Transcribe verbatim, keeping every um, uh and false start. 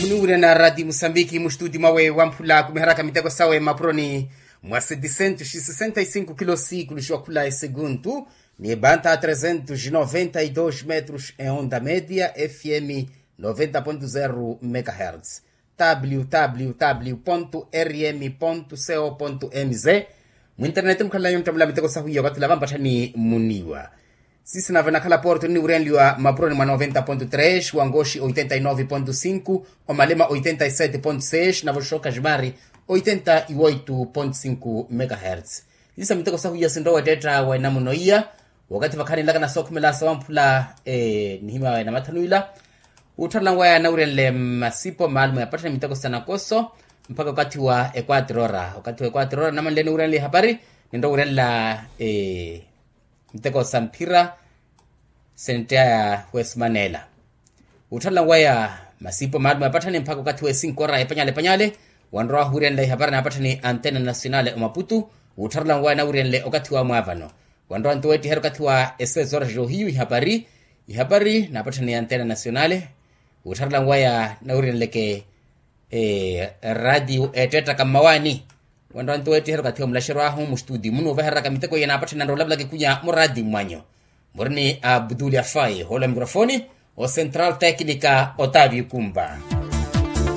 Muniwurya na rati musambiki muxituti mwawe wamphula kumiharaka miteko sawe mapuroni mwa setisentus sesenta y sinku kilo sikuluxiwa khula esekuntu, ni ebanta tresentus noventa y dos metros e onda media fm noventa ponto zero megahertz. Www rm co mz. Mwinternet mukhalanyu nttamula miteko sahuya okathula vampatthani muniwa. Sisi nave nakhala porto nniwurenliwa mapuroni mwa noventa ponto tres, wangoxi oitenta y nove ponto cinco, omalema oitenta y sete ponto seis nave oxoka ximari oitenta y oito ponto cinco megahertz. Sisa miteko sahuya sinrowa ettetta wa enamuno iya. Wakathi vakhaninlaka nasookhumela sawamphula nihimya wawe namathanu ila. Wuttharela nwaya nawurenle masipo maalumu ya pattani miteko sa nakoso mpakha okathi wa equatro ora okathi wa equatro ora namanle niwurenle ihapari. Ninrowa wurenla miteko sa mphira sentteya ya wesimanela. Wuttharela nwaya masipo maalumu ya pattani mpakha okathi wa esinko ora epanyale epanyale. Wanrowa wurenla ihapari na pattani antena nasionale omaputu. Wuttharela nwaya nawurenle okathi wa mwaavano. Wanrowa nto weettiherya okathi wa esesora johiyu ihapari ihapari na pattani antena nasionale. Wuttharela nwaya nawurenleke ratio ettetta kammawaani. Wanrowa nto weettiherya okathi wa mulaxeryo ahu muxituti munuuvahereraka miteko iya na pattani anrowa olavulaka ekunya muratio mwanyu. Murini a abutuli afai hola mikrofoni o central tecnica otavio kumba.